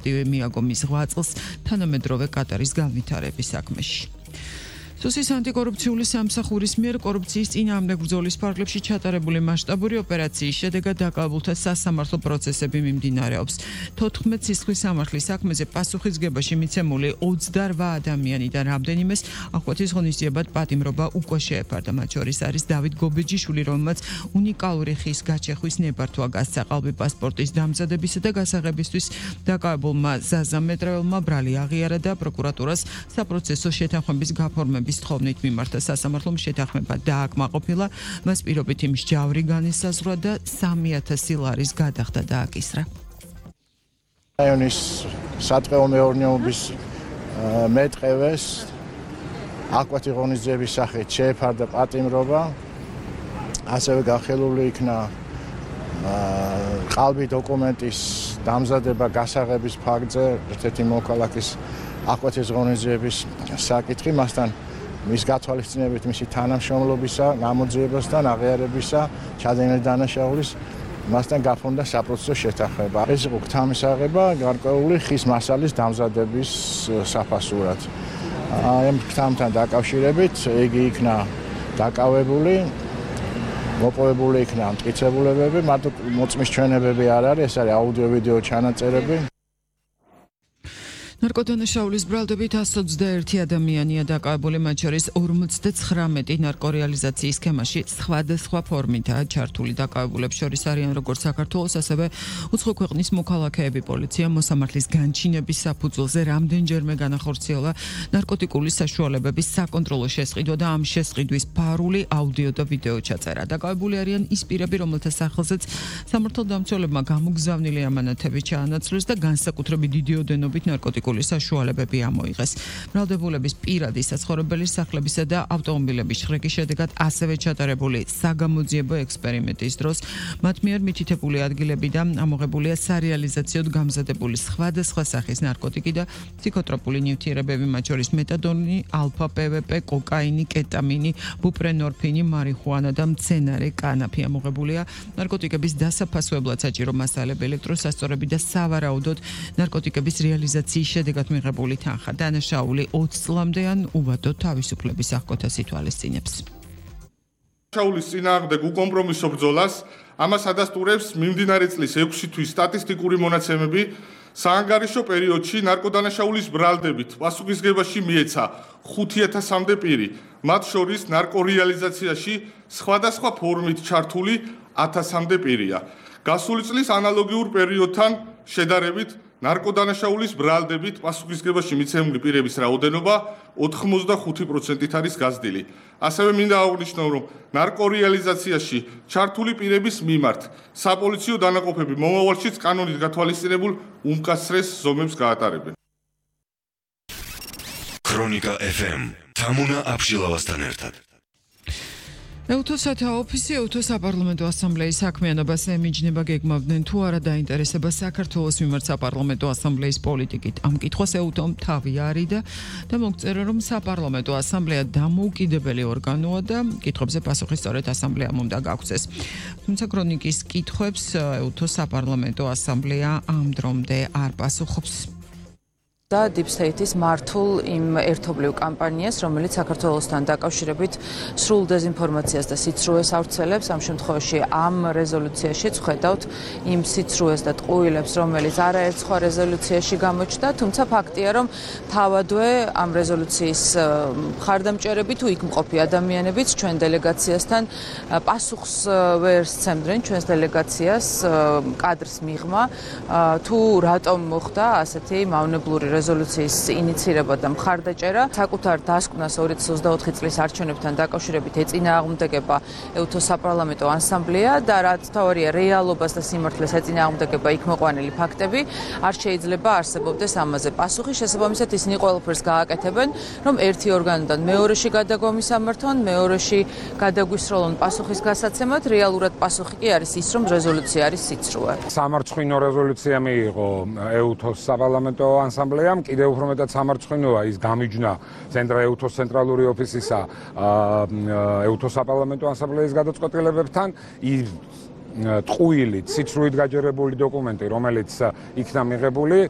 ინიციატივი მიაგო მის 8 წელს თანამედროვე კატარის განვითარების საქმეში. სუსის ანტიკორუფციული სამსახურის მიერ კორუფციის წინააღმდეგ ბრძოლის ფარგლებში ჩატარებული მასშტაბური ოპერაციის შედეგად დაკავებულთა სასამართლო პროცესები მიმდინარეობს. 14 სისხლის სამართლის საქმეზე პასუხისგებაში მიცემული 28 ადამიანიდან რამდენიმეს აღკვეთის ღონისძიებად პატიმრობა უკვე შეეფარდა. მათ შორის არის დავით გობეჯიშვილი, რომელმაც უნიკალური ხის გაჩეხვის ნებართვა გასცა ყალბი პასპორტის დამზადებისა და გასაღებისთვის დაკავებულმა ზაზა მეტრეველმა ბრალი აღიარა და პროკურატურას საპროცესო შეთანხმების გაფორმების თხოვნით მიმართა. სასამართლომ შეთანხმება დააკმაყოფილა, მას პირობითი მსჯავრი განისაზღვრა და 3000 ლარის გადახდა დააკისრა. რაიონის სატყეო მეურნეობის მეტყევეს აღკვეთი ღონისძიების სახით შეეფარდა პატიმრობა, ასევე განხილული იქნა ყალბი დოკუმენტის დამზადება გასაღების ფაქტზე ერთ-ერთი მოქალაქის აღკვეთის ღონისძიების საკითხი, მასთან მის გათვალისწინებით მისი თანამშრომლობისა, გამოძიებასთან, აღიარებისა, ჩადენილი დანაშაულის მასთან გაფორმდა საპროცესო შეთანხმება. ეს იყო გთამისაღება გარკვეული ხის მასალის დამზადების საფასურად. ამ გთამთან დაკავშირებით იგი იქნა დაკავებული, მოპოვებული იქნა მტკიცებულებები, მარტო მოწმის ჩვენებები არ არის, ეს არის აუდიო-ვიდეო ჩანაწერები. ნარკოდანაშაულის ბრალდებით 121 ადამიანია დაკავებული, მათ შორის 59 ნარკორეალიზაციის სქემაში სხვადასხვა ფორმითაა ჩართული. დაკავებულებს შორის არიან როგორც საქართველოს, ასევე უცხო ქვეყნის მოქალაქეები. პოლიცია მოსამართლის განჩინების საფუძველზე რამდენჯერმე განახორციელა ნარკოტიკული საშუალებების საკონტროლო შესყიდვა და ამ შესყიდვის ფარული აუდიო და ვიდეო ჩაწერა. დაკავებული არიან ის პირები, რომელთა სახელზეც სამართალდამცველებმა გამოგზავნილი ამანათები ჩაანაცვლეს და განსაკუთრებით დიდი ოდენობით ნარკოტიკული საშუალებები ამოიღეს. ბრალდებულების პირადი საცხოვრებელი სახლებისა და ავტომობილების შრეკის შედეგად ასევე ჩატარებული საგამოძიებო ექსპერიმენტის დროს მათ მიერ მითითებული ადგილებიდან ამოღებულია სარეალიზაციოდ გამზადებული სხვადასხვა სახის ნარკოტიკი და ფსიქოტროპული ნივთიერებები, მათ შორის მეტადონი, ალფა PVP, კოკაინი, კეტამინი, ბუპრენორფინი, მარიხუანა და მცენარე კანაფი. ამოღებულია ნარკოტიკების დასაფასვებლად საჭირო მასალები, ელექტროსასწორები და სავარაუდოდ ნარკოტიკების რეალიზაციის შედეგად მიღებული თანხა. დანაშაული 20 წლამდე ან უვადო თავისუფლების აღკვეთას ითვალისწინებს. დანაშაულის წინააღმდეგ უკომპრომისო ბრძოლას ამას ადასტურებს მიმდინარე წლის 6 თვის სტატისტიკური მონაცემები. საანგარიშო პერიოდში ნარკოდანაშაულის ბრალდებით პასუხისგებაში მიეცა 5000-მდე პირი, მათ შორის ნარკორეალიზაციაში სხვადასხვა ფორმით ჩართული 1000-მდე პირია. გასული წლის ანალოგიურ პერიოდთან შედარებით ნარკოდანაშაულის ბრალდებით პასუხისგებაში მიცემული პირების რაოდენობა 85%-ით არის გაზრდილი. ასევე მინდა აღვნიშნო, რომ ნარკორეალიზაციაში ჩართული პირების მიმართ საპოლიციო დანაყოფები მომავალშიც კანონით გათვალისწინებულ უმკაცრეს ზომებს გაატარებენ. ქრონიკა FM თამუნა აფშილავასთან ერთად. ეუთოსათა ოფისი ეუთოს საპარლამენტო ასამბლეის საქმიანობას ემიჯნება, გეგმავდნენ თუ არა დაინტერესება საქართველოს მიმართ საპარლამენტო ასამბლეის პოლიტიკით. ამ კითხვას ეუთომ თავი არიდა და მოგწერა, რომ საპარლამენტო ასამბლეა დამოუკიდებელი ორგანოა და კითხვებზე პასუხი სწორედ ასამბლეამ უნდა გაგვცეს. თუმცა ქრონიკის კითხვებს ეუთოს საპარლამენტო ასამბლეა ამ დრომდე არ პასუხობს. და Deep State-ის მართულ იმ ერთობლივ კამპანიას, რომელიც საქართველოსთან დაკავშირებით სრულ დეზინფორმაციას და სიცრუეს ავრცელებს. ამ შემთხვევაში ამ რეზოლუციაში ხედავთ იმ სიცრუეს და ტყუილებს, რომელიც არაერთ სხვა რეზოლუციაში გამოჩნდა, თუმცა ფაქტია, რომ თავადვე ამ რეზოლუციის მხარდამჭერები თუ იქ მყოფი ადამიანებიც ჩვენ დელეგაციასთან პასუხს ვერ სცემდნენ ჩვენს დელეგაციას კადრს მიღმა, თუ რატომ მოხდა ასეთი მავნებლური რეზოლუციის ინიცირება და მხარდაჭერა. საკუთარ დასკვნას 2024 წლის არჩევნებთან დაკავშირებით ეწინააღმდეგება ეუთოს საპარლამენტო ასამბლეა და რაც თავარია რეალობას და სიმართლეს ეწინააღმდეგება იქ მოყვანილი ფაქტები, არ შეიძლება არსებობდეს ამაზე პასუხი. შესაბამისად ისინი ყველაფერს გააკეთებენ, რომ ერთი ორგანოდან მეორეში გადაგომისამართონ, მეორეში გადაგვისროლონ პასუხის გასაცემად. რეალურად პასუხი კი არის ის, რომ რეზოლუცია არის სიცრუე. სამარცხვინო რეზოლუცია მიიღო ეუთოს საპარლამენტო ასამბლეამ, კიდევ უფრო მეტად სამარცხვინოა ის გამიჯნა ეუთოს ცენტრალური ოფისისა ეუთოს საპარლამენტო ასამბლეის გადაწყვეტილებებთან. ტყუილი, ციცრუით გაჯერებული დოკუმენტი, რომელიც იქნა მიღებული,